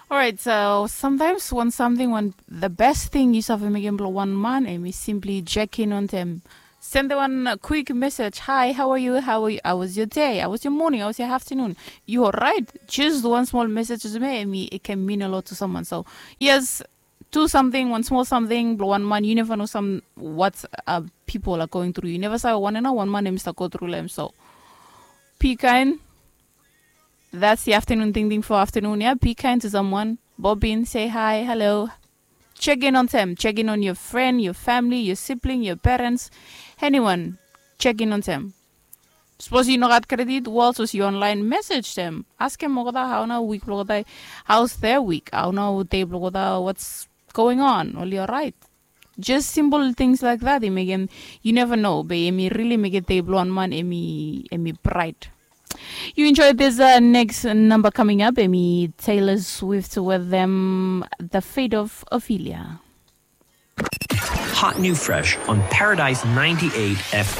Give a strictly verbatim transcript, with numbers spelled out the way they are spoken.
Orait, so sometimes wan samting, wan the best thing yu save mekem blong wan man, em i simply check in on them. Send wan quick message, hi, how are you, how, are you? How was your day, how was your morning, how was your afternoon? You alright? Just one small message to me, em i can mean a lot to someone. So yes, do something, wan small samting blong wan man, you never know some what uh, people are going through. You never save wan ena wan man em i start go through long em. So be kind. That's the afternoon thing thing for afternoon, yeah. Be kind to someone. Bob in, say hi, hello. Check in on them. Check in on your friend, your family, your sibling, your parents, anyone. Check in on them. Suppose you no got credit, well, suppose you online message them. Ask them, how na week blong olgeta, how's their week? How na day blong olgeta, what's going on? Oli alright? Just simple things like that, em i mekem, you never know, be em i really mekem day blong wan man em i, em i bright. You enjoy this uh, next number coming up, em i Taylor Swift with them, The Fate of Ophelia. Hot new fresh on Paradise ninety-eight F M.